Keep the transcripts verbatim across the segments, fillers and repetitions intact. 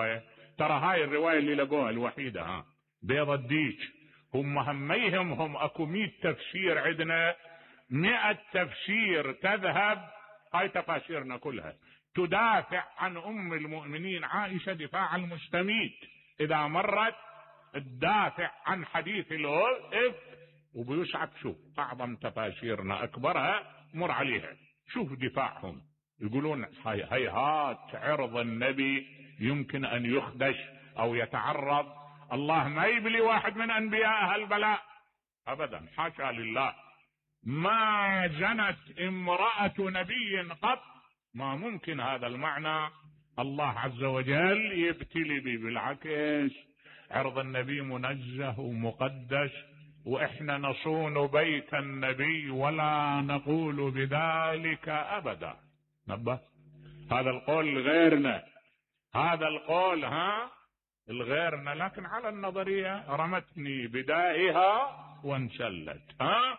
الرواية؟ ترى هاي الرواية اللي لقوها الوحيدة، ها بيض الديك. هم هميهم هم اكو مئة تفسير، عندنا مئة تفسير تذهب هاي تفاسيرنا كلها تدافع عن ام المؤمنين عائشة دفاع المستميت. اذا مرت تدافع عن حديث الإفك وبيسعد. شوف اعظم تفاسيرنا اكبرها مر عليها، شوف دفاعهم. يقولون هي هيهات عرض النبي يمكن ان يخدش او يتعرض، الله ما يبلي واحد من انبياء البلاء ابدا، حاشا لله. ما زنت امرأة نبي قط، ما ممكن هذا المعنى الله عز وجل يبتلي به، بالعكس عرض النبي منزه ومقدس، واحنا نصون بيت النبي ولا نقول بذلك ابدا. نبه هذا القول غيرنا، هذا القول ها الغيرنا، لكن على النظرية رمتني بدائها وانسلت. ها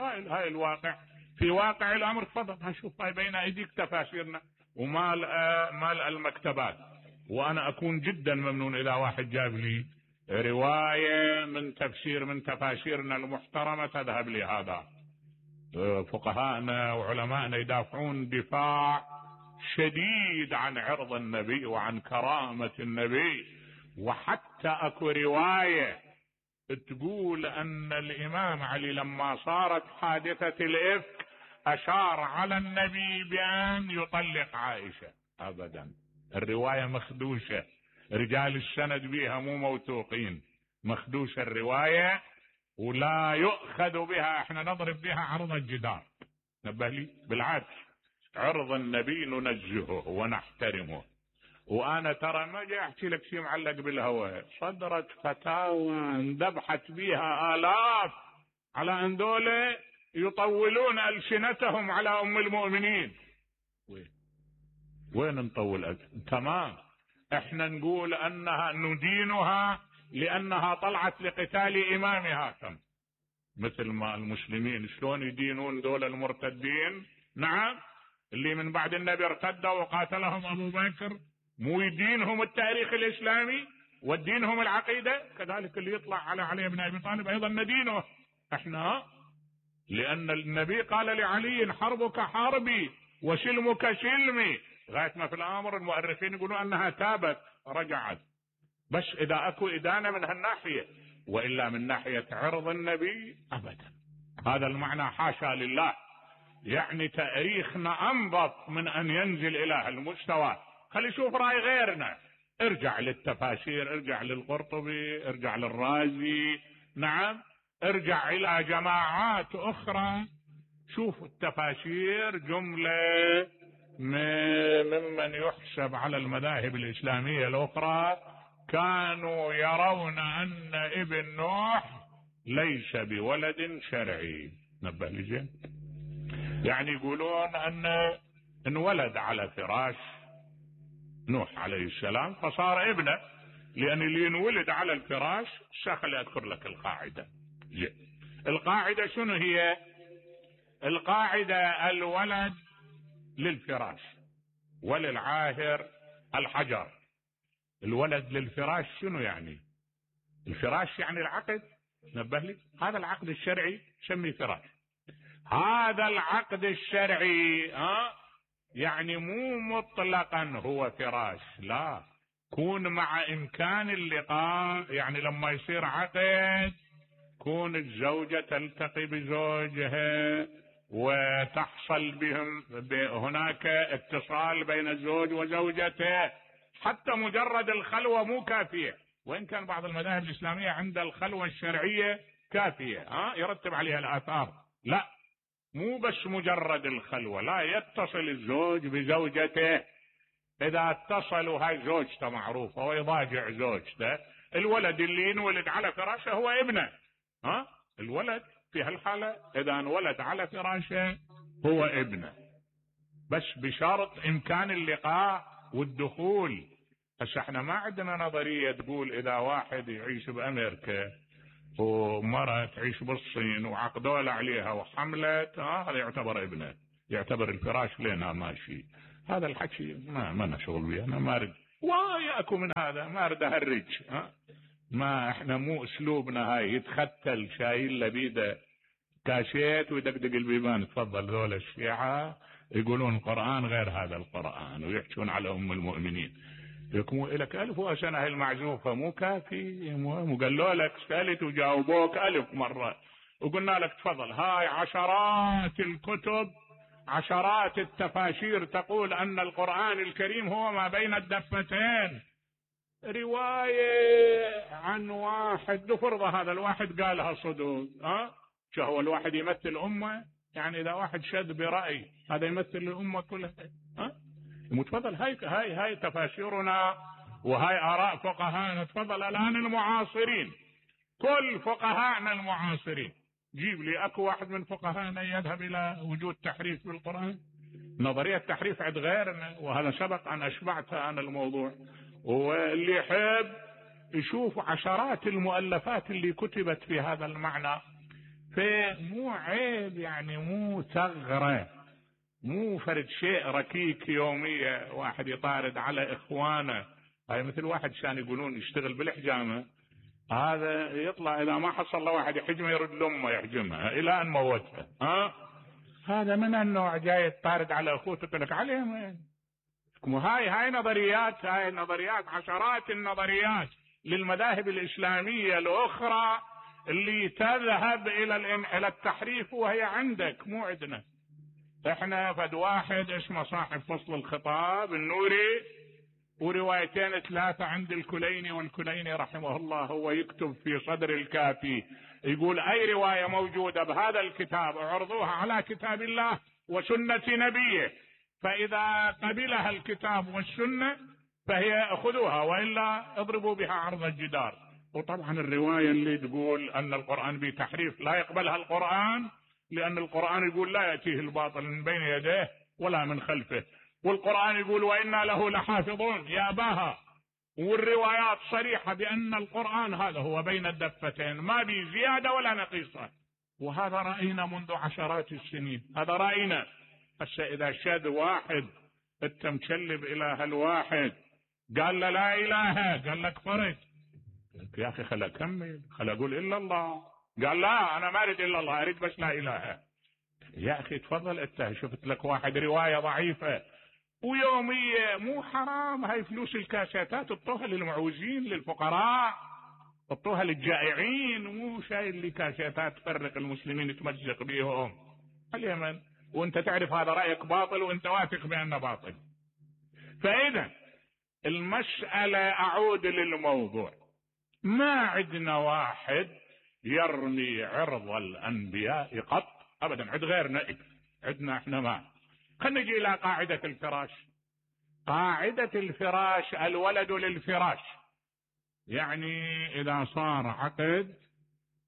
هاي, هاي الواقع، في واقع الامر. تفضل هشوف هاي بين ايديك تفاسيرنا ومال آه مال المكتبات. وانا اكون جدا ممنون اذا واحد جاب لي رواية من تفسير من تفاسيرنا المحترمة تذهب لي هذا. فقهاءنا وعلماءنا يدافعون دفاع شديد عن عرض النبي وعن كرامة النبي. وحتى اكو رواية تقول ان الامام علي لما صارت حادثة الإفك اشار على النبي بان يطلق عائشة. ابدا، الرواية مخدوشة، رجال السند بها مو موثوقين، مخدوشة الرواية ولا يؤخذ بها، احنا نضرب بها عرض الجدار. نبه لي بالعكس، عرض النبي ننزهه ونحترمه. وانا ترى ما جاي احكي لك شيء معلق بالهواء، صدرت فتاوى اندبحت بها الاف على ان دول يطولون السنتهم على ام المؤمنين. وين وين نطول أجل؟ تمام، احنا نقول انها ندينها لانها طلعت لقتال امامها، كم مثل ما المسلمين شلون يدينون دول المرتدين، نعم اللي من بعد النبي ارتدوا وقاتلهم ابو بكر، مو يدينهم التاريخ الاسلامي ودينهم العقيدة؟ كذلك اللي يطلع على علي بن ابي طالب ايضا ندينه احنا، لان النبي قال لعلي حربك حربي وسلمك سلمي، لغاية ما في الامر المؤرخين يقولون انها تابت رجعت. بس اذا اكو ادانة من هالناحية، والا من ناحية عرض النبي ابدا. هذا المعنى حاشا لله، يعني تاريخنا انظف من ان ينزل الى هالمستوى. خلي شوف راي غيرنا، ارجع للتفاسير، ارجع للقرطبي، ارجع للرازي، نعم ارجع الى جماعات اخرى، شوف التفاسير جملة ممن يحسب على المذاهب الاسلامية الاخرى كانوا يرون ان ابن نوح ليس بولد شرعي. نبه لي زين، يعني يقولون ان انولد على فراش نوح عليه السلام فصار ابنه، لان اللي ينولد على الفراش. خلي اذكر لك القاعدة. زين، القاعدة شنو هي؟ القاعدة الولد للفراش وللعاهر الحجر. الولد للفراش شنو يعني؟ الفراش يعني العقد، نبه لي، هذا العقد الشرعي سمي فراش. هذا العقد الشرعي ها يعني مو مطلقا هو فراش، لا، كون مع امكان اللقاء، يعني لما يصير عقد كون الزوجة تلتقي بزوجها وتحصل بهم هناك اتصال بين الزوج وزوجته، حتى مجرد الخلوة مو كافية، وإن كان بعض المذاهب الإسلامية عند الخلوة الشرعية كافية ها يرتب عليها الآثار. لا، مو بس مجرد الخلوة، لا، يتصل الزوج بزوجته. إذا اتصلوا هاي زوجته معروفة ويضاجع زوجته، الولد اللي ينولد على فراشه هو ابنه. ها الولد في هالحالة إذا انولد على فراشه هو ابنه، بس بشرط إمكان اللقاء والدخول. بس احنا ما عندنا نظرية تقول إذا واحد يعيش بأمريكا ومرة تعيش بالصين وعقدوا له عليها وحملت، ها هذا يعتبر ابنه، يعتبر الفراش لنا ماشي. هذا الحكي ما ما نشغل به، انا ما اريد وياكو من هذا ما اريد اهرج، ها ما احنا مو اسلوبنا هاي. يتختل شايل له بيده كاشيت ويدقدق البيبان. تفضل ذول الشيعة يقولون القرآن غير هذا القرآن ويحكون على ام المؤمنين. يكون لك الف وسنة هاي المعزوفة مو كافي؟ مو قالوا لك سألت وجاوبوك الف مرة وقلنا لك تفضل. هاي عشرات الكتب عشرات التفاسير تقول ان القرآن الكريم هو ما بين الدفتين. رواية عن واحد نفرض هذا الواحد قالها صدق، ها شو هو الواحد يمثل أمة؟ يعني إذا واحد شد برأي هذا يمثل الأمة كلها؟ ها متفضل. هاي هاي هاي تفاسيرنا وهاي آراء فقهاءنا. تفضل الآن المعاصرين، كل فقهاءنا المعاصرين جيب لي أكو واحد من فقهاءنا يذهب إلى وجود تحريف بالقرآن. نظرية تحريف عند غيرنا، وهذا سبق أن أشبعتها أنا الموضوع. واللي يحب يشوف عشرات المؤلفات اللي كتبت في هذا المعنى. فمو عيب يعني، مو ثغرة، مو فرد شيء ركيك يومية واحد يطارد على إخوانه. هاي مثل واحد كان يقولون يشتغل بالحجامة، هذا يطلع إذا ما حصل له واحد يحجمه يرد لأمه يحجمها إلى أن موتها. ها هذا من النوع جاي يطارد على أخوته تقول لك عليهم. هاي هاي نظريات، هاي النظريات عشرات النظريات للمذاهب الإسلامية الأخرى اللي تذهب إلى إلى التحريف، وهي عندك مو عندنا. احنا فد واحد اسمه صاحب فصل الخطاب النوري وروايتين ثلاثة عند الكليني، والكليني رحمه الله هو يكتب في صدر الكافي يقول أي رواية موجودة بهذا الكتاب اعرضوها على كتاب الله وسنة نبيه، فإذا قبلها الكتاب والسنة فهي خذوها وإلا اضربوا بها عرض الجدار. وطبعا الرواية اللي تقول أن القرآن بتحريف لا يقبلها القرآن، لأن القرآن يقول لا يأتيه الباطل من بين يديه ولا من خلفه، والقرآن يقول وإنا له لحافظون يا باها. والروايات صريحة بأن القرآن هذا هو بين الدفتين ما بي زيادة ولا نقيصة، وهذا رأينا منذ عشرات السنين. هذا رأينا. بس إذا شد واحد انت مكلب إله الواحد قال له لا إله، قال لك فرد يا أخي خلا أكمل، خلا أقول إلا الله. قال لا أنا ما أريد إلا الله، أريد بس لا إله. يا أخي تفضل أنت شفت لك واحد رواية ضعيفة ويومية، مو حرام هاي فلوس الكاسيتات اطوها للمعوزين للفقراء، اطوها للجائعين، مو شايل لي كاسيتات تفرق المسلمين تمزق بيهم اليمن وانت تعرف هذا رأيك باطل وانت واثق بأنه باطل. فإذا المسألة أعود للموضوع، ما عندنا واحد يرمي عرض الأنبياء قط أبدا، عند غيرنا عندنا احنا ما. خلينا نجي إلى قاعدة الفراش. قاعدة الفراش الولد للفراش، يعني إذا صار عقد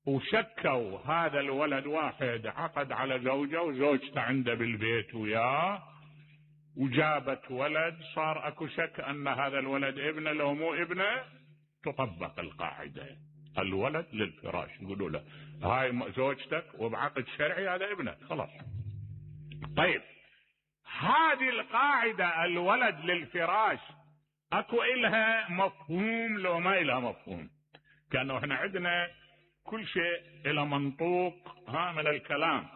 وشكوا هذا الولد واحد عقد على زوجة وزوجته عنده بالبيت وياه وجابت ولد، صار اكو شك ان هذا الولد ابنه لو مو ابنه، تطبق القاعدة الولد للفراش. يقولوا له هاي زوجتك وبعقد شرعي هذا ابنك خلاص. طيب هذه القاعدة الولد للفراش اكو إلها مفهوم لو ما إلها مفهوم؟ كأنه احنا عندنا كل شيء إلى منطوق ها من الكلام،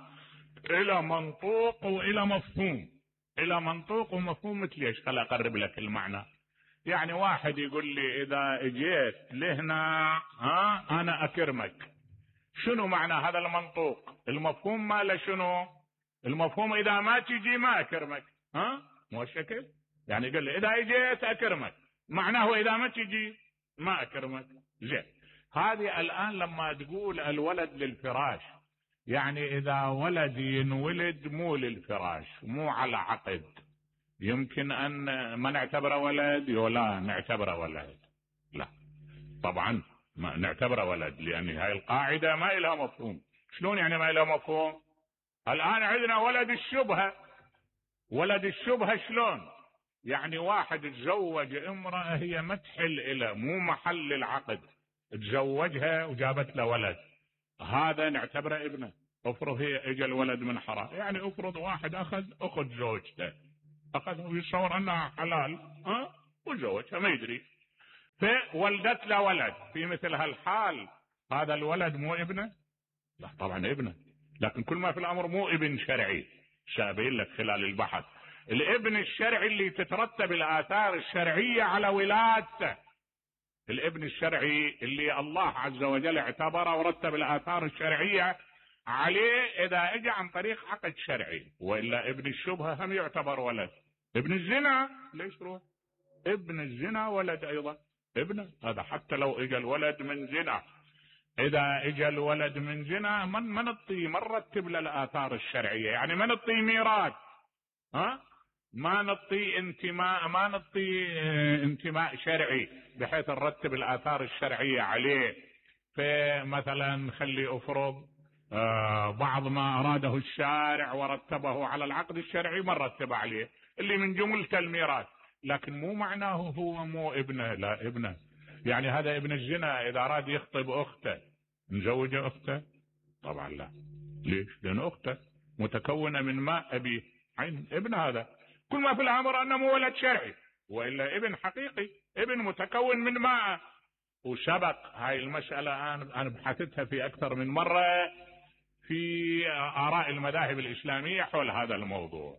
إلى منطوق وإلى مفهوم. إلى منطوق ومفهوم مثل ايش؟ خل أقرب لك المعنى. يعني واحد يقول لي إذا اجيت لهنا ها أنا أكرمك، شنو معنى هذا المنطوق؟ المفهوم ماله شنو؟ المفهوم إذا ما تجي ما أكرمك، ها مو الشكل؟ يعني قال لي إذا اجيت أكرمك، معناه إذا ما تجي ما أكرمك. زين، هذه الآن لما تقول الولد للفراش، يعني إذا ولد ينولد مو للفراش، مو على عقد، يمكن أن ما نعتبره ولد ولا نعتبره ولد؟ لا طبعا ما نعتبره ولد، لأن هاي القاعدة ما إلها مفهوم. شلون يعني ما إلها مفهوم؟ الآن عندنا ولد الشبهة. ولد الشبهة شلون؟ يعني واحد تزوج امرأة هي ما تحل إلى، مو محل العقد، تزوجها وجابت له ولد، هذا نعتبره ابنه. افرض هي اجى الولد من حرام، يعني افرض واحد اخذ اخذ زوجته، اخذ ويصور انها حلال، ها وزوجها ما يدري، فولدت له ولد. في مثل هالحال هذا الولد مو ابنه؟ لا طبعا ابنه، لكن كل ما في الامر مو ابن شرعي. سأبين لك خلال البحث. الابن الشرعي اللي تترتب الاثار الشرعيه على ولادته، الابن الشرعي اللي الله عز وجل اعتبره ورتب الاثار الشرعيه عليه اذا اجى عن طريق عقد شرعي، والا ابن الشبهه هم يعتبر ولد. ابن الزنا ليش روح؟ ابن الزنا ولد ايضا، ابنه هذا حتى لو اجى الولد من زنا. اذا اجى الولد من زنا من من نطي من رتب له الاثار الشرعيه، يعني ما نطي ميراث، ها ما نطي انتماء، ما نطي انتماء شرعي بحيث نرتب الاثار الشرعيه عليه. فمثلا خلي افرض آه بعض ما اراده الشارع ورتبه على العقد الشرعي ما رتب عليه، اللي من جملته الميراث، لكن مو معناه هو مو ابنه، لا ابنه. يعني هذا ابن الزنا اذا اراد يخطب اخته نزوج اخته؟ طبعا لا. ليش؟ لان اخته متكونه من ماء ابيه، عين ابن. هذا كل ما في الامر انه مو ولد شرعي، والا ابن حقيقي، ابن متكون من ماء. وسبق هاي المساله انا بحثتها في اكثر من مره في اراء المذاهب الاسلاميه حول هذا الموضوع.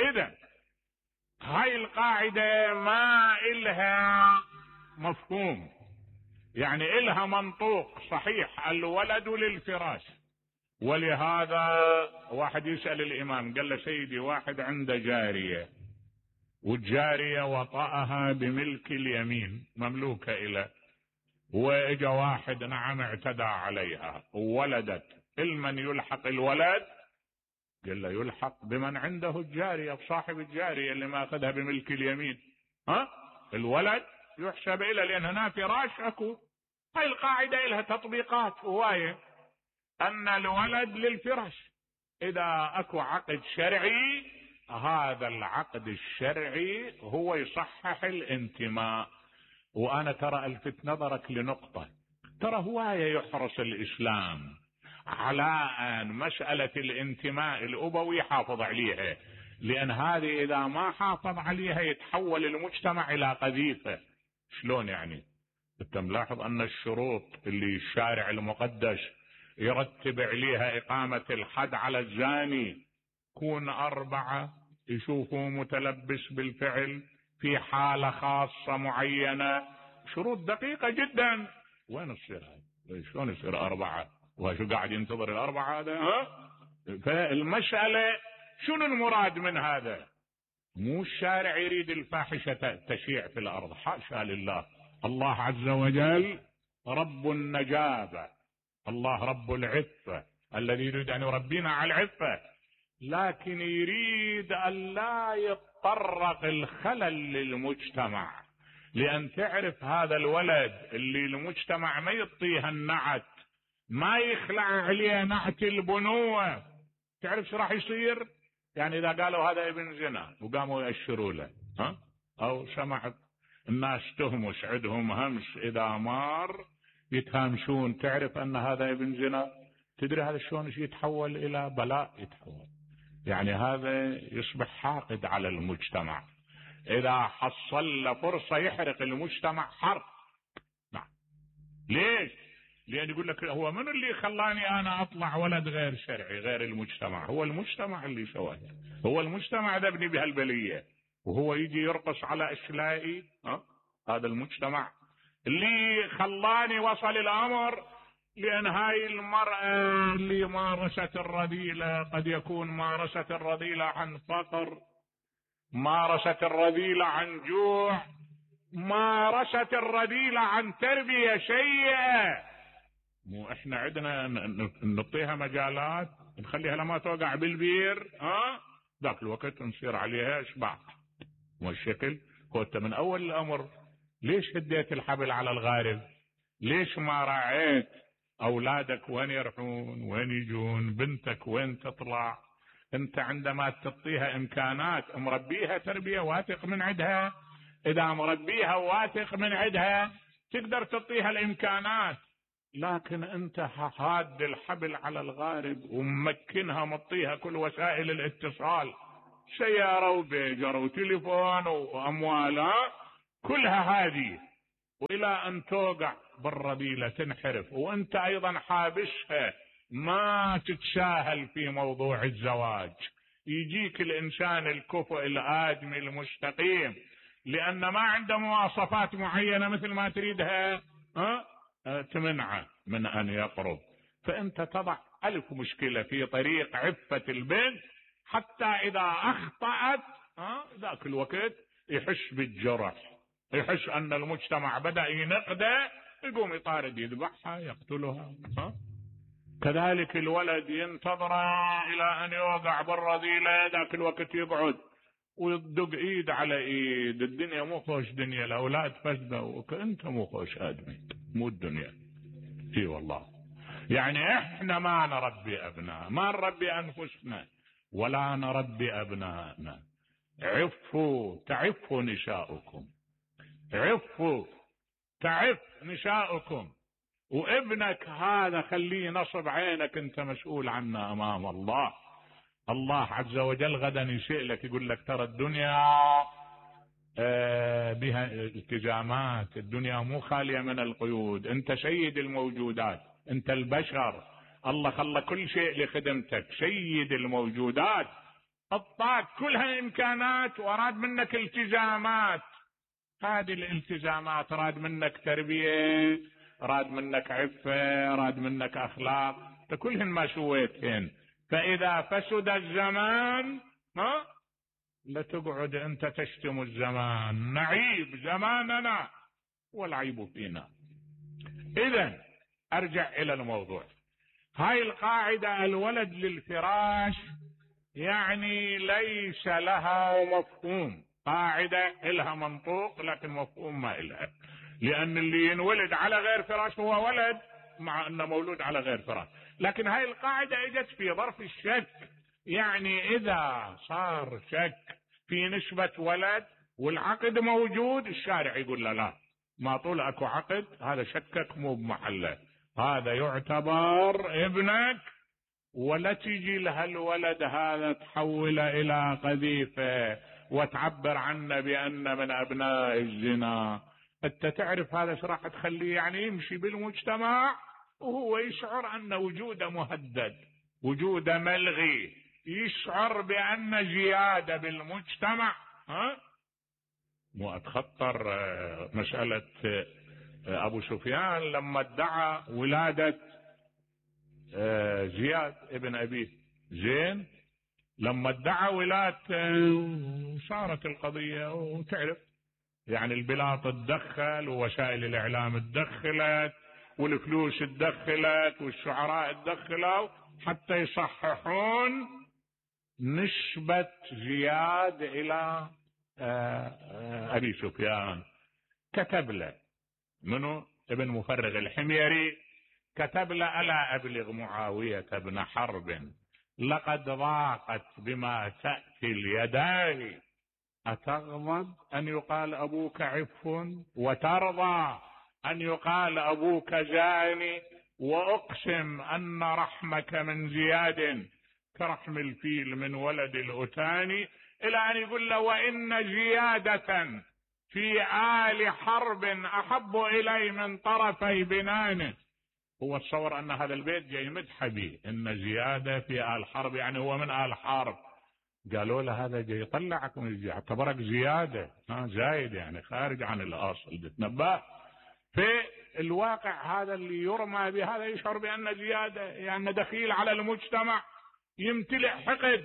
اذا هاي القاعده ما إلها مفهوم، يعني إلها منطوق صحيح، الولد للفراش. ولهذا واحد يسأل الإمام قال له سيدي واحد عنده جارية والجارية وطأها بملك اليمين مملوكة إلى، وإجا واحد نعم اعتدى عليها وولدت، المن يلحق الولد؟ قال له يلحق بمن عنده الجارية، بصاحب الجارية اللي ما أخذها بملك اليمين. ها الولد يحسب إلى، لأن هنا فراش أكو. هاي القاعدة لها تطبيقات هواية، أن الولد للفراش. إذا أكو عقد شرعي هذا العقد الشرعي هو يصحح الانتماء. وأنا ترى ألفت نظرك لنقطة، ترى هواية يحرص الإسلام على أن مسألة الانتماء الأبوي يحافظ عليها، لأن هذه إذا ما حافظ عليها يتحول المجتمع إلى قذيفة. شلون يعني؟ أنت ملاحظ أن الشروط اللي الشارع المقدس يرتب عليها إقامة الحد على الزاني كون أربعة، يشوفوا متلبس بالفعل في حالة خاصة معينة، شروط دقيقة جدا. وين تصير هاي؟ شلون يصير أربعة؟ وشو قاعد ينتظر الأربعة هذا؟ ها؟ فالمسألة شنو المراد من هذا؟ مو الشارع يريد الفاحشة تشيع في الأرض، حاشا لله. الله عز وجل رب النجابة، الله رب العفة الذي يريد أن يربينا على العفة، لكن يريد أن لا يتطرق الخلل للمجتمع. لأن تعرف هذا الولد اللي المجتمع ما يعطيها النعت، ما يخلع عليه نعت البنوة، تعرف شو راح يصير؟ يعني إذا قالوا هذا ابن زنا وقاموا يأشروا له، ها؟ أو سمعت الناس تهمش عندهم همس إذا مار يتهامشون، تعرف أن هذا ابن زنا، تدري هذا شلون يتحول إلى بلاء؟ يتحول يعني هذا يصبح حاقد على المجتمع، إذا حصل له فرصة يحرق المجتمع حرق. نعم. ليش؟ لأن يقول لك هو من اللي خلاني أنا أطلع ولد غير شرعي غير المجتمع؟ هو المجتمع اللي سواه، هو المجتمع ذبني بهالبلية، وهو يجي يرقص على أشلائي. ها؟ هذا المجتمع اللي خلاني وصل الأمر. لأن هاي المرأة اللي مارست الرذيلة قد يكون مارست الرذيلة عن فقر، مارست الرذيلة عن جوع، مارست الرذيلة عن تربية سيئة. مو احنا عندنا نعطيها مجالات نخليها لما توقع بالبير، ها ذاك الوقت نصير عليها اشباع. والشكل كنت من اول الامر ليش هديت الحبل على الغارب؟ ليش ما راعيت اولادك وين يروحون وين يجون؟ بنتك وين تطلع؟ انت عندما تعطيها امكانات مربيها تربية واثق من عندها، اذا مربيها واثق من عندها تقدر تعطيها الامكانات. لكن انت حاد الحبل على الغارب وممكنها مطيها كل وسائل الاتصال، سيارة وبيجر وتليفون واموال، كلها هذه، والى ان توقع بالرذيلة تنحرف، وانت ايضا حابسها ما تتساهل في موضوع الزواج. يجيك الانسان الكفؤ الادمي المستقيم لان ما عنده مواصفات معينة مثل ما تريدها ها تمنعه من ان يقرب، فانت تضع الف مشكلة في طريق عفة البنت، حتى اذا اخطأت ها ذاك الوقت يحس بالجرح، يحس ان المجتمع بدأ ينقده، يقوم يطارد يذبحها يقتلها. ها كذلك الولد ينتظر الى ان يوقع بالرذيلة، ذاك الوقت يقعد ويدق ايد على ايد. الدنيا مو خوش دنيا، الاولاد فسده، وانت مو خوش ادمي، مو الدنيا. اي والله، يعني احنا ما نربي ابناء، ما نربي انفسنا ولا نربي ابنائنا. عفوا تعف نساؤكم، عفوا تعف نساؤكم. وابنك هذا خليه نصب عينك، انت مسؤول عنه امام الله. الله عز وجل غدا يسألك يقول لك ترى الدنيا بها التزامات، الدنيا مو خالية من القيود، انت سيد الموجودات، انت البشر، الله خلى كل شيء لخدمتك، سيد الموجودات، اعطاك كلها امكانات واراد منك التزامات. هذه الالتزامات راد منك تربية، راد منك عفة، راد منك اخلاق، كلهن ما سويتهن. فاذا فسد الزمان ها لتقعد انت تشتم الزمان، نعيب زماننا والعيب فينا. اذا ارجع الى الموضوع. هاي القاعدة الولد للفراش يعني ليس لها مفهوم، قاعدة لها منطوق لكن مفهوم ما لها، لان اللي ينولد على غير فراش هو ولد مع انه مولود على غير فراش. لكن هاي القاعدة اجت في ظرف الشك، يعني اذا صار شك في نسبة ولد والعقد موجود، الشارع يقول له لا، ما طول اكو عقد، هذا شكك مو بمحله، هذا يعتبر ابنك، ولا تجي لها الولد هذا تحوله الى قذيفة وتعبر عنه بان من ابناء الزنا. انت تعرف هذا ايش راح تخليه يعني يمشي بالمجتمع وهو يشعر ان وجوده مهدد، وجوده ملغي، يشعر بان زيادة بالمجتمع. ها مو اتخطر مسألة ابو سفيان لما ادعى ولادة زياد ابن ابيه زين، لما ادعى ولادته صارت القضية، وتعرف يعني البلاط تدخل ووسائل الاعلام تدخلت والفلوس تدخلت والشعراء تدخلوا حتى يصححون نسبة زياد الى ابي سفيان. كتب له منو؟ ابن مفرغ الحميري كتب له الا ابلغ معاوية بن حرب لقد ضاقت بما تأتي اليدان، أتغضب أن يقال أبوك عف وترضى أن يقال أبوك زاني، وأقسم أن رحمك من زياد كرحم الفيل من ولد الأتاني، إلى أن يقول له وإن زيادة في آل حرب أحب إلي من طرفي بنانه. هو تصور أن هذا البيت جاي مدح به، إن زيادة في آل حرب يعني هو من آل حرب. قالوا له هذا جاي يطلعك من الزيادة، اعتبرك زيادة ها زايد يعني خارج عن الأصل بتنبه. في الواقع هذا اللي يرمى بهذا يشعر بأن زيادة يعني دخيل على المجتمع، يمتلئ حقد.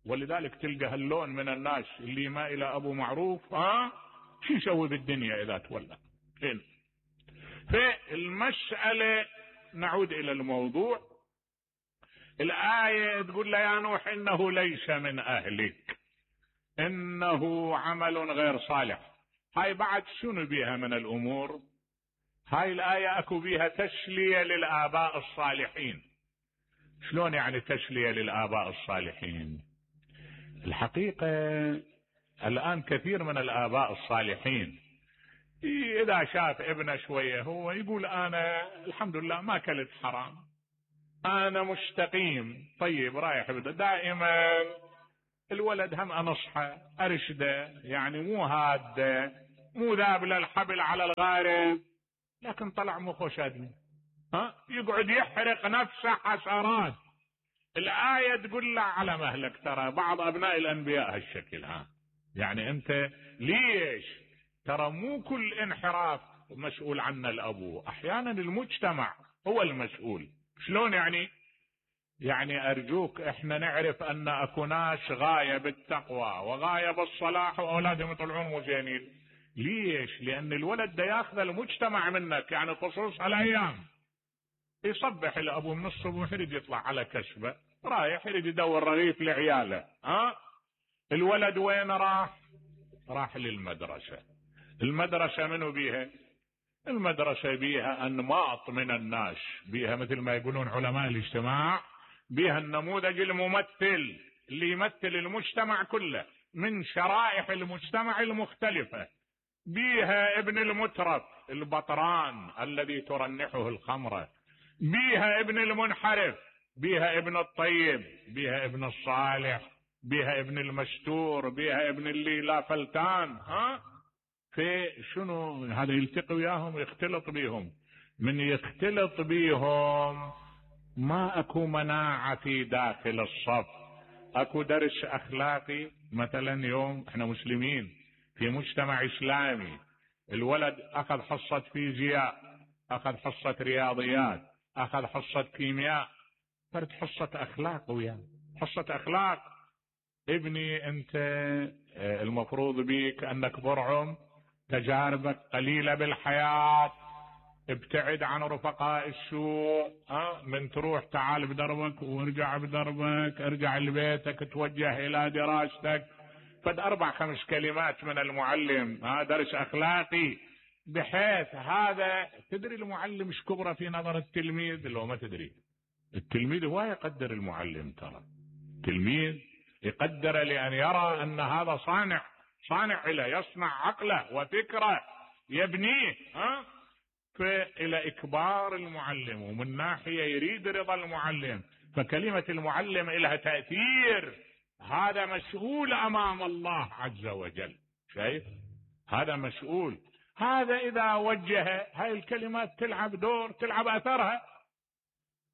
ولذلك تلقى هاللون من الناس اللي ما إلى أبو معروف ها شو يسوي بالدنيا إذا تولى. هنا في المسألة نعود إلى الموضوع. الآية تقول له يا نوح إنه ليس من أهلك إنه عمل غير صالح. هاي بعد شنو بيها من الأمور؟ هاي الآية أكو بيها تسلية للآباء الصالحين. شلون يعني تسلية للآباء الصالحين؟ الحقيقة الآن كثير من الآباء الصالحين إذا شاف ابنه شوية هو يقول أنا الحمد لله ما كلت حرام، أنا مستقيم طيب رايح بده، دائما الولد هم أنصحه أرشده، يعني مو هاد مو ذاب للحبل على الغارب، لكن طلع مخه شادني، ها يقعد يحرق نفسه حسرات. الآية تقول له على مهلك، ترى بعض أبناء الأنبياء هالشكل. ها يعني أنت ليش؟ ترى مو كل انحراف مسؤول عنه الأبو، أحيانا المجتمع هو المسؤول. شلون يعني؟ يعني أرجوك إحنا نعرف أن أكو ناس غاية بالتقوى وغاية بالصلاح وأولادهم يطلعون مزينين. ليش؟ لأن الولد ده ياخذ المجتمع منك. يعني خصوص هالأيام يصبح الأبو من الصبح يريد يطلع على كسبه، رايح يريد يدور رغيف لعياله. ها الولد وين راح؟ راح للمدرسة. المدرسة منو بيها؟ المدرسة بيها أنماط من الناس، بيها مثل ما يقولون علماء الاجتماع، بيها النموذج الممثل اللي يمثل المجتمع كله من شرائح المجتمع المختلفة، بيها ابن المترف البطران الذي ترنحه الخمرة، بيها ابن المنحرف، بيها ابن الطيب، بيها ابن الصالح، بيها ابن المستور، بيها ابن اللي لا فلتان. ها في شنو هذا؟ يلتقي وياهم يختلط بيهم. من يختلط بيهم ما اكو مناعة في داخل الصف، اكو درس اخلاقي. مثلا يوم احنا مسلمين في مجتمع اسلامي، الولد اخذ حصة فيزياء، اخذ حصة رياضيات، اخذ حصة كيمياء، فرد حصة اخلاق وياه، حصة اخلاق. ابني انت المفروض بيك انك برعم، تجاربك قليلة بالحياة، ابتعد عن رفقاء السوء. ها من تروح تعال بدربك وارجع بدربك، ارجع لبيتك، توجه الى دراستك. فد اربع خمس كلمات من المعلم، ها درس اخلاقي، بحيث هذا تدري المعلم ايش كبره في نظر التلميذ؟ لو ما تدري، التلميذ هو يقدر المعلم. ترى التلميذ يقدر لأن يرى أن هذا صانع، صانع له، يصنع عقله وفكره، يبنيه. ها فإلى إكبار المعلم، ومن ناحية يريد رضا المعلم، فكلمة المعلم لها تأثير. هذا مسؤول أمام الله عز وجل. شايف؟ هذا مسؤول. هذا إذا وجه هاي الكلمات تلعب دور، تلعب أثرها.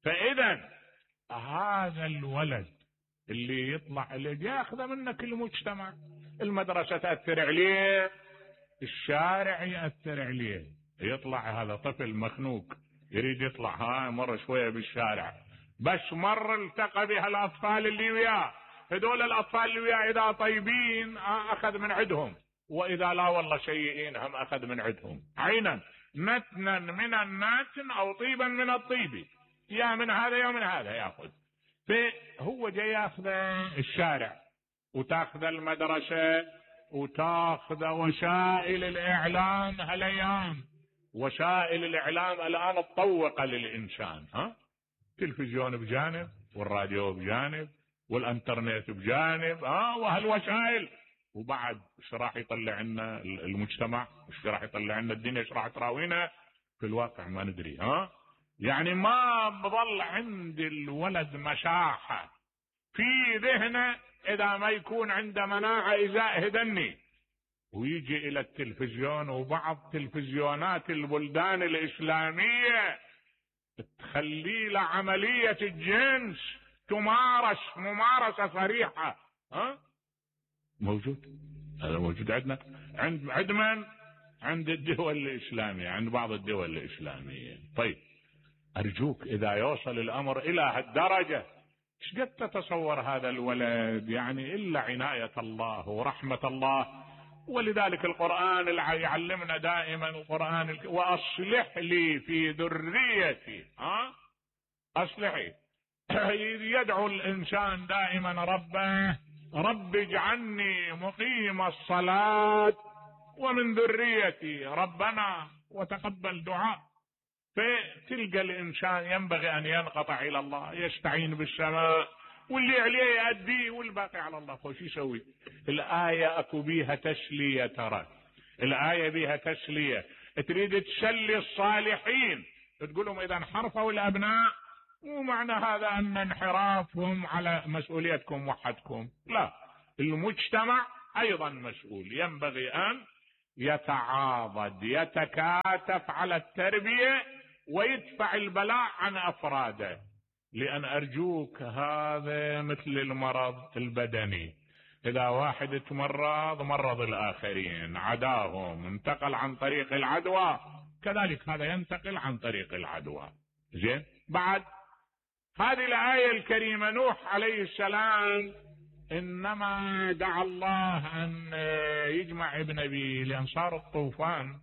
فإذا هذا الولد اللي يطلع اللي ياخذ منك المجتمع، المدرسة تأثر عليه، الشارع يأثر عليه. يطلع هذا طفل مخنوق يريد يطلع، ها مر شوية بالشارع، بس مر التقى بها الأطفال اللي وياه. هذول الأطفال اللي وياه إذا طيبين أخذ من عندهم، وإذا لا والله سيئين هم أخذ من عندهم. عينا نتنا من الناتن أو طيبا من الطيب، يا من هذا يا من هذا يأخذ. فهو جاي ياخذ الشارع، وتاخذ المدرسة، وتاخذ وسائل الإعلام. هالايام وسائل الإعلام الآن تطوق للإنسان. ها تلفزيون بجانب، والراديو بجانب، والانترنت بجانب، ها وهالوسائل. وبعد ايش راح يطلع لنا المجتمع؟ ايش راح يطلع لنا الدنيا؟ ايش راح تراوينا؟ في الواقع ما ندري. ها يعني ما بظل عند الولد مساحة في ذهنه إذا ما يكون عنده مناعة إزاء هدني، ويجي إلى التلفزيون. وبعض تلفزيونات البلدان الإسلامية تخلي له عملية الجنس تمارس ممارسة صريحة. ها موجود، هذا موجود عندنا، عند عند من؟ عند الدول الإسلامية، عند بعض الدول الإسلامية. طيب أرجوك إذا يوصل الأمر إلى هالدرجة، ايش قد تتصور هذا الولد؟ يعني إلا عناية الله ورحمة الله. ولذلك القرآن يعلمنا دائما، القرآن الك... وأصلح لي في ذريتي. ها أصلحي. يدعو الإنسان دائما ربه، رب اجعلني مقيم الصلاة ومن ذريتي ربنا وتقبل دعاء. فتلقى الإنسان ينبغي أن ينقطع إلى الله، يستعين بالسماء، واللي عليه يأديه والباقي على الله. خوش يسوي. الآية أكو بيها تسلية. ترى الآية بيها تسلية. تريد تسلي الصالحين، تقولهم إذا انحرفوا الأبناء مو معنى هذا أن انحرافهم على مسؤوليتكم وحدكم، لا، المجتمع أيضا مسؤول. ينبغي أن يتعاضد يتكاتف على التربية ويدفع البلاء عن أفراده. لأن أرجوك هذا مثل المرض البدني، إذا واحد تمرض مرض الآخرين، عداهم، انتقل عن طريق العدوى، كذلك هذا ينتقل عن طريق العدوى. زين، بعد هذه الآية الكريمة نوح عليه السلام إنما دعا الله أن يجمع ابن أبيه، لأن صار الطوفان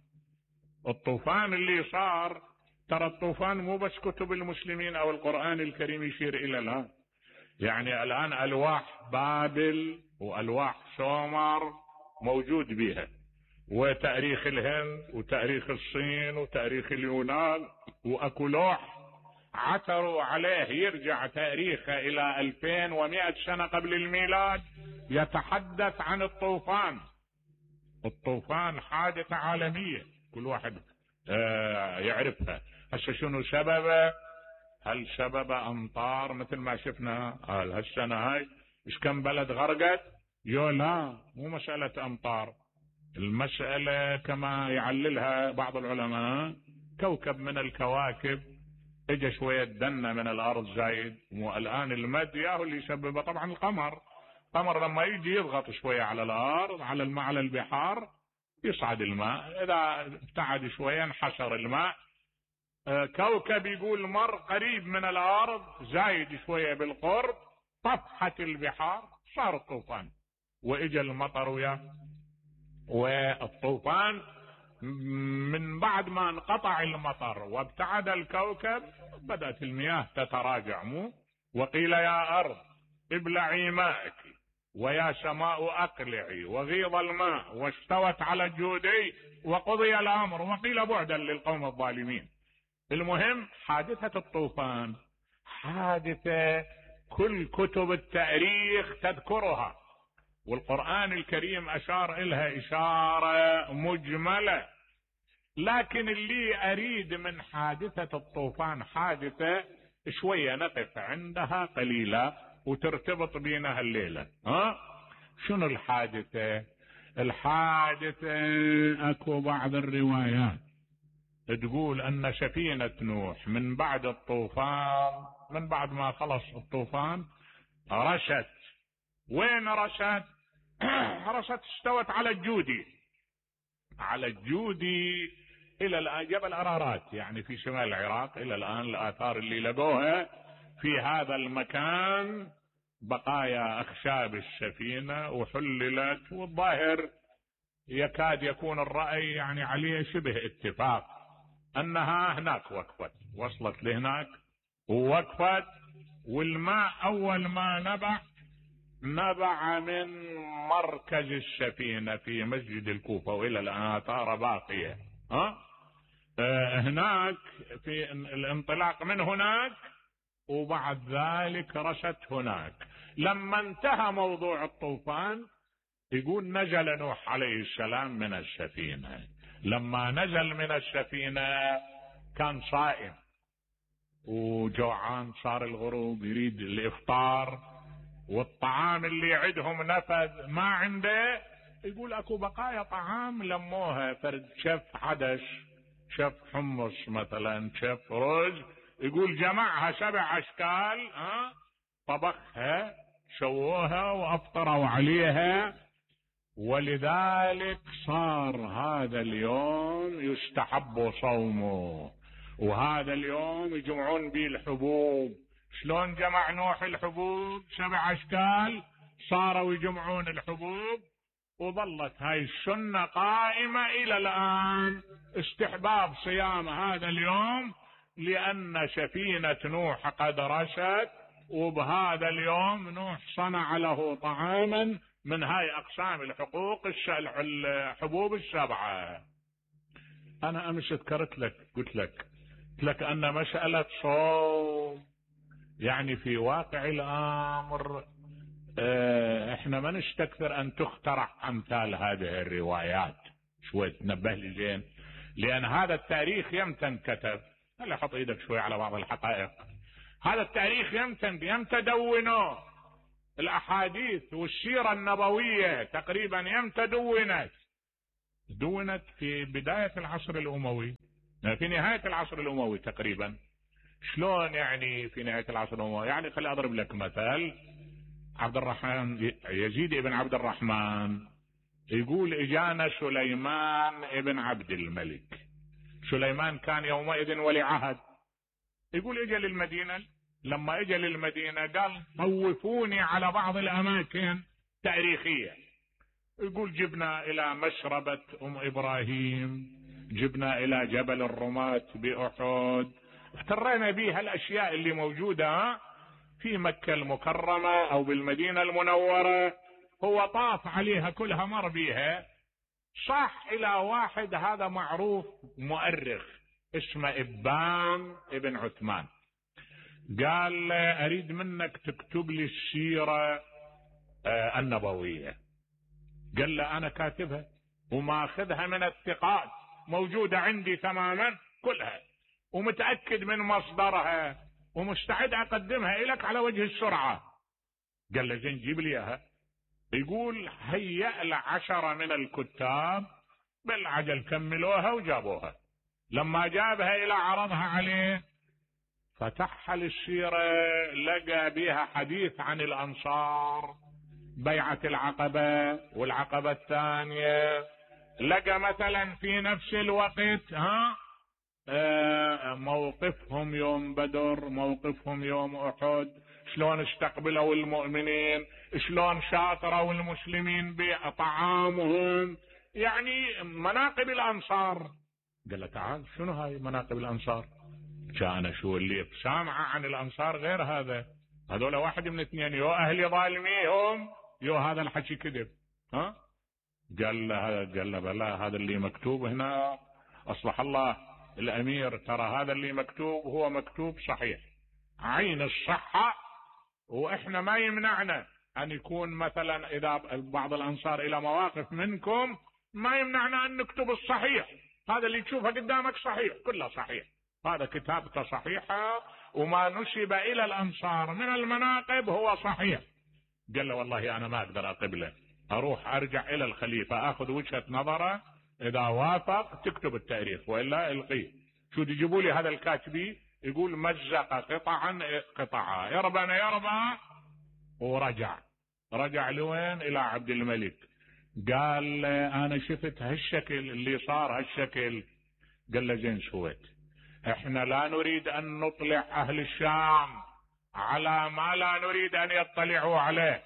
الطوفان اللي صار. ترى الطوفان مو بس كتب المسلمين أو القرآن الكريم يشير إلى الآن، يعني الآن ألواح بابل وألواح سومر موجود بها، وتاريخ الهند وتاريخ الصين وتاريخ اليونان، وأكو لوح عثروا عليه يرجع تاريخه إلى ألفين ومئة سنة قبل الميلاد، يتحدث عن الطوفان. الطوفان حادثة عالمية كل واحد آه يعرفها. هسه شنو سببه؟ هل سبب أمطار مثل ما شفنا هل هالسنة هاي إيش كم بلد غرقت؟ يو لا، مو مسألة أمطار، المسألة كما يعللها بعض العلماء، كوكب من الكواكب اجى شوية دنة من الأرض زايد، والآن المد ياهو اللي يسببه طبعا القمر. القمر لما يجي يضغط شوية على الأرض، على الماء، على البحار، يصعد الماء، إذا ابتعد شوية انحسر الماء. كوكب يقول مر قريب من الأرض زايد شوية بالقرب، طفحت البحار، صار الطوفان، وإجا المطر وياه. والطوفان من بعد ما انقطع المطر وابتعد الكوكب بدأت المياه تتراجع. مو وقيل يا أرض ابلعي ماءك ويا سماء أقلعي وغيض الماء واستوت على الجودي وقضي الأمر وقيل بعدا للقوم الظالمين. المهم حادثة الطوفان حادثة كل كتب التاريخ تذكرها، والقرآن الكريم أشار إلها إشارة مجملة. لكن اللي أريد من حادثة الطوفان حادثة شوية نقف عندها قليلة وترتبط بينها الليلة. ها شنو الحادثة؟ الحادثة أكو بعض الروايات تقول أن سفينة نوح من بعد الطوفان، من بعد ما خلص الطوفان رشت. وين رشت؟ رشت استوت على الجودي، على الجودي إلى الآن، جبل أرارات يعني في شمال العراق. إلى الآن الآثار اللي لقوها في هذا المكان بقايا أخشاب السفينة وحللت، والظاهر يكاد يكون الرأي يعني عليه شبه اتفاق أنها هناك وقفت، وصلت لهناك ووقفت. والماء أول ما نبع نبع من مركز السفينة في مسجد الكوفة، وإلى الآن آثار باقية. ها آه هناك في الانطلاق من هناك، وبعد ذلك رشت هناك. لما انتهى موضوع الطوفان يقول نزل نوح عليه السلام من السفينة. لما نزل من السفينة كان صائم وجوعان، صار الغروب يريد الإفطار، والطعام اللي عندهم نفذ ما عنده. يقول اكو بقايا طعام لموها، فرد شف عدش، شف حمص مثلا، شف رز، يقول جمعها سبع اشكال، ها طبخها شووها وافطروا عليها. ولذلك صار هذا اليوم يستحب صومه، وهذا اليوم يجمعون به الحبوب. شلون جمع نوح الحبوب؟ سبع اشكال، صاروا يجمعون الحبوب، وظلت هاي السنة قائمة الى الان، استحباب صيام هذا اليوم، لان سفينة نوح قد رشت، وبهذا اليوم نوح صنع له طعاما من هاي اقسام الحقوق الحبوب السبعة. انا امس ذكرت لك، قلت لك قلت لك ان مسألة صوم يعني في واقع الامر اه احنا ما نستكثر ان تخترع امثال هذه الروايات. شوي تنبه لي زين، لان هذا التاريخ يمتى انكتب. هلا حط ايدك شوي على بعض الحقائق. هذا التاريخ يمتى يمتى دونوه. الاحاديث والسيرة النبوية تقريبا يمتى دونت؟ دونت في بداية العصر الأموي، في نهاية العصر الأموي تقريبا. شلون يعني في نهاية العصر الأموي؟ يعني خلي أضرب لك مثل. عبد الرحمن يزيد ابن عبد الرحمن يقول اجانا سليمان ابن عبد الملك. سليمان كان يومئذ ولي عهد. يقول اجى للمدينة، لما اجى للمدينة قال طوفوني على بعض الاماكن تاريخية. يقول جبنا الى مشربة ام ابراهيم، جبنا الى جبل الرماة باحد، افترينا بها الاشياء اللي موجودة في مكة المكرمة او بالمدينة المنورة. هو طاف عليها كلها، مر بيها. صح الى واحد هذا معروف مؤرخ اسمه ابان ابن عثمان، قال اريد منك تكتب لي السيرة النبوية. قال له انا كاتبها وماخذها من الثقات، موجودة عندي تماما كلها، ومتأكد من مصدرها، ومستعد اقدمها لك على وجه السرعة. قال له زين جيب لي اياها. يقول هيأ لعشرة من الكتاب بالعجل كملوها وجابوها. لما جابها الى عرضها عليه فتحها للسيرة، لقى بها حديث عن الانصار، بيعة العقبة والعقبة الثانية. لقى مثلا في نفس الوقت ها موقفهم يوم بدر، موقفهم يوم احد، شلون استقبلوا المؤمنين، شلون شاطروا المسلمين بطعامهم، يعني مناقب الانصار. قال له تعال شنو هاي مناقب الانصار؟ كان شو اللي سامعه عن الانصار غير هذا، هذول واحد من اثنين، يو اهل ظالميهم يو هذا الحكي كذب. ها قال له قال له بلا، هذا اللي مكتوب هنا اصلح الله الامير، ترى هذا اللي مكتوب هو مكتوب صحيح عين الصحة، واحنا ما يمنعنا ان يكون مثلا اذا بعض الانصار الى مواقف منكم ما يمنعنا ان نكتب الصحيح، هذا اللي تشوفه قدامك صحيح كله صحيح، هذا كتابته صحيحة وما نسب الى الانصار من المناقب هو صحيح. قال له والله انا ما اقدر اقبله، اروح ارجع الى الخليفة اخذ وجهة نظره، اذا وافق تكتب التاريخ والا القيه. شو تجيبوا لي هذا الكاتبي يقول مزق قطعا قطعا يربنا يربى، ورجع رجع لوين؟ الى عبد الملك. قال انا شفت هالشكل اللي صار هالشكل. قال له زين سويت، احنا لا نريد ان نطلع اهل الشام على ما لا نريد ان يطلعوا عليه،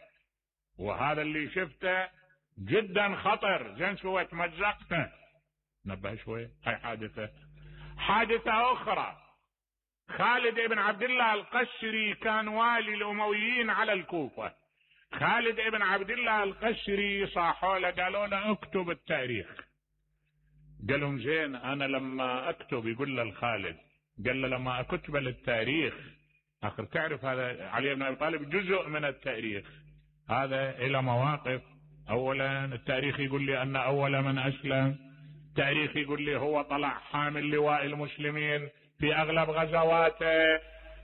وهذا اللي شفته جدا خطر. زين سويت مزقته. نبه شوي. هاي حادثة. حادثة اخرى، خالد بن عبد الله القشري كان والي الامويين على الكوفة. خالد بن عبد الله القشري صاحوا له قالوا له اكتب التاريخ. قال لهم زين انا لما اكتب، يقول له الخالد، قال له لما اكتب للتاريخ اخر تعرف هذا علي بن ابي طالب جزء من التاريخ، هذا الى مواقف. اولا التاريخ يقول لي ان اول من اسلم، التاريخ يقول لي هو طلع حامل لواء المسلمين في اغلب غزواته،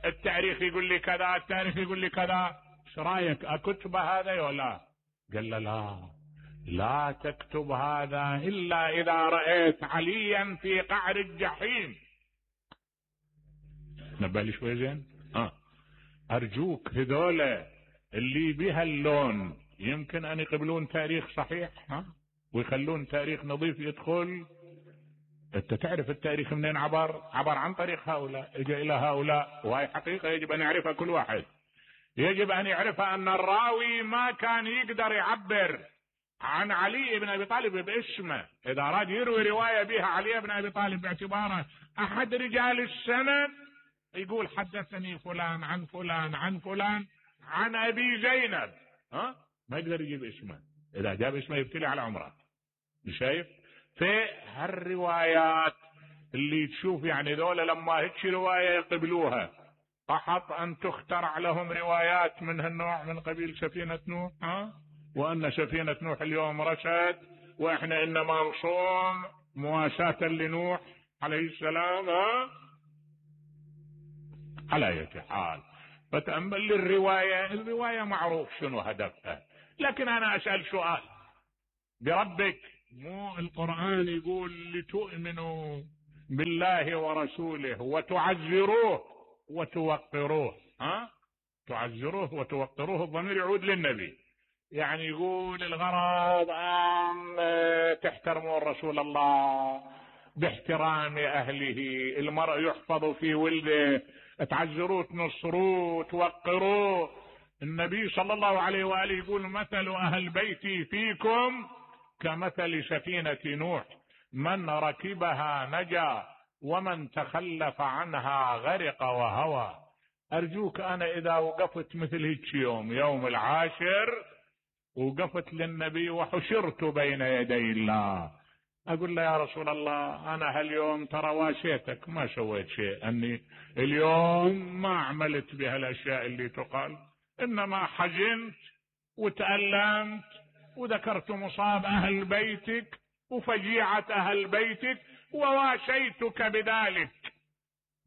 التاريخ يقول لي كذا، التاريخ يقول لي كذا، ايش رايك اكتب هذا ولا؟ قال له لا لا تكتب هذا الا اذا رايت عليا في قعر الجحيم. نبالي شوي زين. اه ارجوك هذولا اللي بها اللون يمكن ان يقبلون تاريخ صحيح ها ويخلون تاريخ نظيف يدخل. انت تعرف التاريخ منين عبر؟ عبر عن طريق هؤلاء، اجى الى هؤلاء، وهي حقيقة يجب ان يعرفها كل واحد. يجب ان يعرفها ان الراوي ما كان يقدر يعبر عن علي بن ابي طالب باسمه، اذا اراد يروي رواية بها علي بن ابي طالب باعتباره احد رجال السند يقول حدثني فلان عن فلان عن فلان عن ابي زينب، ها ما يقدر يجيب اسمه، اذا جاب اسمه يبتلي على عمره. شايف؟ في هالروايات اللي تشوف يعني ذولا لما هيك رواية يقبلوها، فحط ان تخترع لهم روايات من هالنوع من قبيل سفينة نوح، ها وان سفينة نوح اليوم رشد واحنا انما نصوم مواساة لنوح عليه السلام. ها على اي حال فتأمل للرواية، الرواية معروف شنو هدفها، لكن انا اسأل سؤال بربك مو القرآن يقول لتؤمنوا بالله ورسوله وتعزروه وتوقروه؟ ها، تعزروه وتوقروه الضمير يعود للنبي، يعني يقول الغرض أن تحترموا رسول الله باحترام أهله، المرء يحفظ في ولده، تعزروه تنصروه توقروه. النبي صلى الله عليه وآله يقول مثل أهل بيتي فيكم كمثل سفينة نوح، من ركبها نجا ومن تخلف عنها غرق وهوى. أرجوك أنا إذا وقفت مثل هيك يوم يوم العاشر وقفت للنبي وحشرت بين يدي الله، أقول له يا رسول الله أنا هاليوم ترى واشيتك ما سويت شيء، أني اليوم ما عملت بهالأشياء اللي تقال، إنما حزنت وتألمت وذكرت مصاب أهل بيتك وفجيعة أهل بيتك وواشيتك بذلك.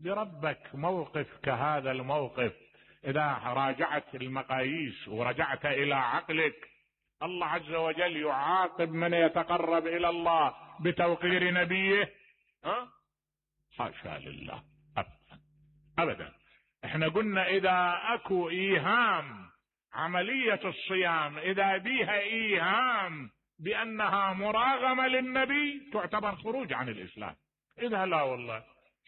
بربك موقف كهذا الموقف إذا راجعت المقاييس ورجعت إلى عقلك، الله عز وجل يعاقب من يتقرب إلى الله بتوقير نبيه؟ ها؟ حاشا لله أبدا أبدا. احنا قلنا إذا أكو إيهام عملية الصيام إذا بيها إيهام بأنها مراغمة للنبي تعتبر خروج عن الإسلام. إذا لا والله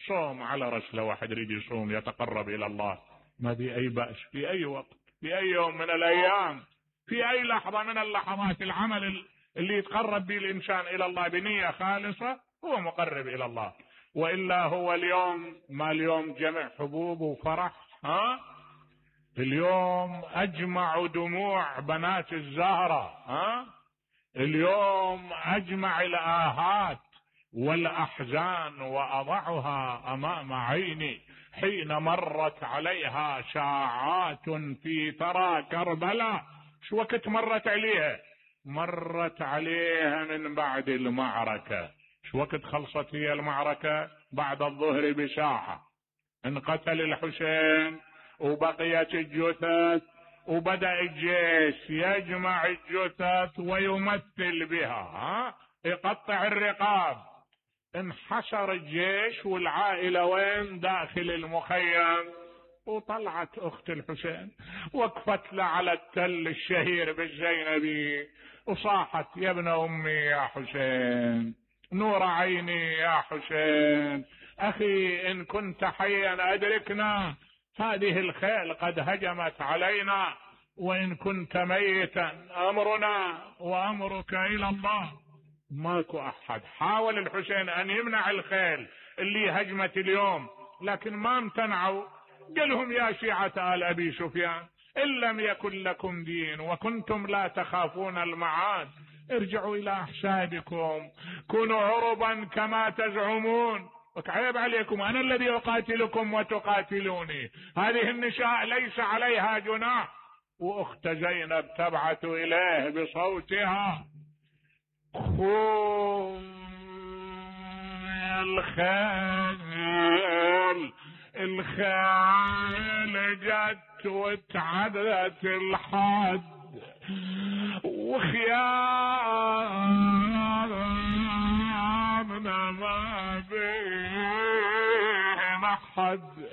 صوم على رسله، واحد يريد يصوم يتقرب إلى الله ما في أي بأس، في أي وقت في أي يوم من الأيام في أي لحظة من اللحظات، العمل اللي يتقرب به الإنسان إلى الله بنية خالصة هو مقرب إلى الله. وإلا هو اليوم ما اليوم جمع حبوب وفرح، ها اليوم أجمع دموع بنات الزهرة، ها اليوم أجمع الآهات والأحزان وأضعها أمام عيني حين مرت عليها ساعات في ثرى كربلاء. شو وقت مرت عليها؟ مرت عليها من بعد المعركة. شو وقت خلصت هي المعركة؟ بعد الظهر بساعة انقتل الحسين وبقيت الجثث، وبدأ الجيش يجمع الجثث ويمثل بها، ها يقطع الرقاب. انحشر الجيش والعائلة وين؟ داخل المخيم. وطلعت اخت الحسين وقفت له على التل الشهير بالزينبي وصاحت يا ابن امي يا حسين، نور عيني يا حسين، اخي ان كنت حيا ادركنا، هذه الخيل قد هجمت علينا، وان كنت ميتا امرنا وامرك الى الله. ماكو احد. حاول الحسين ان يمنع الخيل اللي هجمت اليوم لكن ما امتنعوا. قالهم يا شيعة آل ابي سفيان ان لم يكن لكم دين وكنتم لا تخافون المعاد ارجعوا الى احسابكم، كونوا عربا كما تزعمون، وكعيب عليكم انا الذي اقاتلكم وتقاتلوني. هذه النساء ليس عليها جناح. واخت زينب تبعث اليه بصوتها خذ الخيل، الخيل جت وتعدت الحد وخيامنا ما بين حد.